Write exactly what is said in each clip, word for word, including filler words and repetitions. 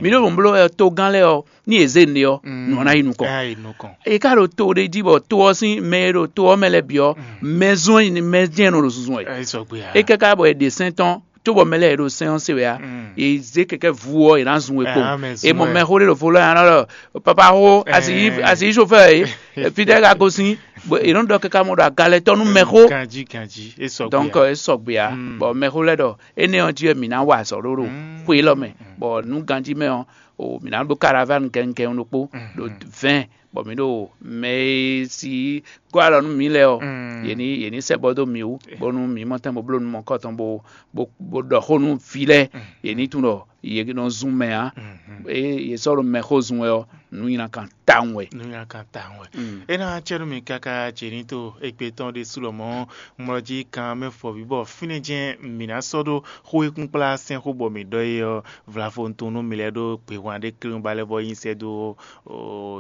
Mi ɖo mɔ̌ bló wɛ togán lɛ́ɛ ɔ́, ní yě zé nǔɖé ɔ́, nǔ ɔ́ ná yi nukɔn. Ɛ yi nukɔn. È ka ɖo to ɖé jí bɔ to ɔ́ sín mɛ e ɖo to ɔ́ mɛ lɛ́ɛ bǐ ɔ́, mɛ zɔn nyi mɛ jɛ́n nɔ ɖo zunzun wɛ. Ɛ sɔgbe ya. É káká bɔ è ɖe sɛ́n tɔn cóbɔ mɛ lɛ́ɛ e ɖo sɛ́n ɔ́ se wɛ ǎ. Mm. È zé kɛkɛ́ vu ɔ́, è nǎ zun we kpo. Ɛ, ame zun È mɔ wɛ. Mɛ xó ɖé ɖo vo lɔ́ nya lɔ papa xó asi Ɛ. Asi yi sofɛ́ e fítɛ́ ka gosín. È nɔ ɖɔ káká mɔ ɖo agalɛtɔ́ nú mɛ xó. Ganjí ganjí é sɔgbe. Donc ya. É sɔgbe ǎ. Mm. Bɔ mɛ xó lɛ́ɛ ɖɔ énɛ́ ɔ́ jí wɛ mǐ ná wa azɔ̌ ɖó ɖo Mm. Xwé élɔ́ mɛ. Mm. Bɔ nǔ ganjí mɛ ɔ́, o mǐ ná ɖó karaván gɛngɛn ɖokpó ɖo vɛ̌ɛn, bɔ mǐ ɖo mɛ e si gɔ́ alɔ nú mǐ lɛ́ɛ ɔ́, yě ní yě ní sɛ́ bɔ dó mǐ wú, bónú mǐ mɔ tɛn bó bló nú mɔ̌kɔ tɔn bó bó bó ɖɔ xó nú vǐ lɛ́ɛ, yě ní tunwun ɖɔ yě nɔ zun mɛ ǎ. Ée yě sɔ́ ɖo mɛxó zun wɛ ɔ́, nǔ nylá kan tawun wɛ. Nǔ nylá kan tawun wɛ. Mm. É ná cɛ nú mi káká jě ní to égbé tɔn ɖésú lɔmɔ̌ mlɔ jí kan mɛ fɔ̌ví bɔ fínɛ́ jɛ́n mǐ ná sɔ́ ɖó xó e kún kplá sɛ́n xó bɔ mǐ ɖɔ é ɔ́, vlavo nú mi lɛ́ɛ ɖó gběhwan ɖé klín ba lɛ́ vɔ nyi sɛ́ dó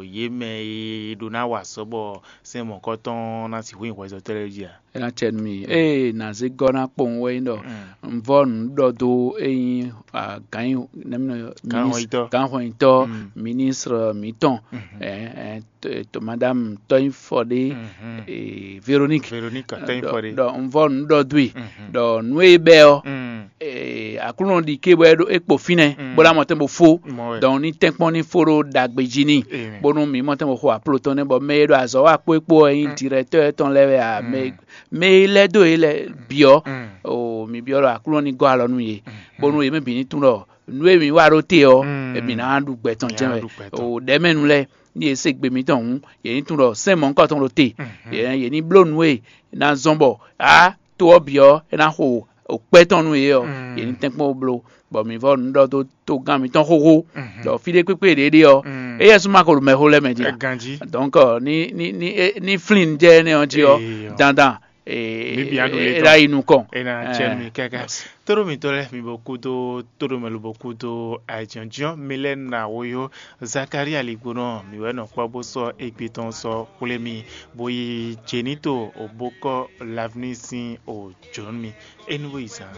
yě mɛ e ɖó ná wa azɔ̌ bɔ sɛ́n mɔ̌kɔtɔn ná sixú nyi hwɛzɔ́tɔ́ lɛ́ɛ jí ǎ. É ná cɛ nú mi. Ée nǎ zé gɔ́ ná kpowun wɛ nyí ɖɔ un vɔ nǔ ɖɔ dó é nyí gǎnhwɛnyitɔ́, gǎnhwɛnyitɔ́, ministre mǐtɔn, madame tɔ́nyifɔɖé Véronique. Véronique tɔ́nyifɔɖé. Ɖɔ un vɔ nǔ ɖɔ dó e, ɖɔ nǔ e bɛ ɔ́, Aklúnɔ ɖi ké bɔ é kpo fínɛ́ bó ná mɔ tɛn bó fó. Dɔn ní tɛ́nkpɔ́n ní fó ɖó ɖagbe jí n'i, bónú mǐ mɔ tɛn bó xo apló tɔn nɛ́, bɔ mɛ e ɖo azɔ̌ wa kpó é kpó ɔ́ nyí dirɛtɔ́ tɔn lɛ́ɛ wɛ ǎ. Mɛ e lɛ́ dó yě lɛ́ɛ bǐ ɔ́, o mǐ byɔ́ ɖɔ Aklúnɔ ní gɔ́ alɔ nú yě, bónú yě mɛ bǐ ní tunwun ɖɔ nǔ e mǐ wa ɖó te ɔ́, mǐ ná ɖu gbɛ tɔn jɛ́n wɛ. O ɖɛ̌mɛnu lɛ́ɛ, ní yě se gbe mǐtɔn hǔn, yě ní tunwun ɖɔ sɛ́n mɔ̌hunkɔtɔn ɖo te. Yě ní bló nǔ e ná zɔ́n bɔ á to ɔ́ bǐ ɔ́, é ná xo kpɛ́ tɔn nú yě ɔ́, yě ní tɛ́nkpɔ́n bó bló, bɔ mǐ vɔ nǔ ɖɔ dó togán mǐtɔn xóxó, ɖɔ fí ɖé kpékpé ɖě ɖe ɔ́, éyɛ́ sú ma ko ɖo mɛxó lɛ́ɛ mɛ jí ǎ. Ganjí. Donc ní ní ní é- ní flín jɛ énɛ́ ɔ́ jí ɔ́, Eyɔ. Dandan Mǐ bǐ ná ɖu lě é tɔn. Ná yi nukɔn. É ná cɛ nú mi káká. Tóɖó mǐtɔn lɛ́ɛ mi bo kúdó tóɖó mɛ lobo kúdó ayǐjínjɔ́n mi lɛ́ɛ ná wó yó. Zakaria ligbonɔ mǐ wɛ nɔ kpɔ́ bó sɔ́ égbé tɔn sɔ́ xwlé mi, bó yi Jenito bó kɔ́ Lavní sín o jǒnú mi. É nú bó yi zán.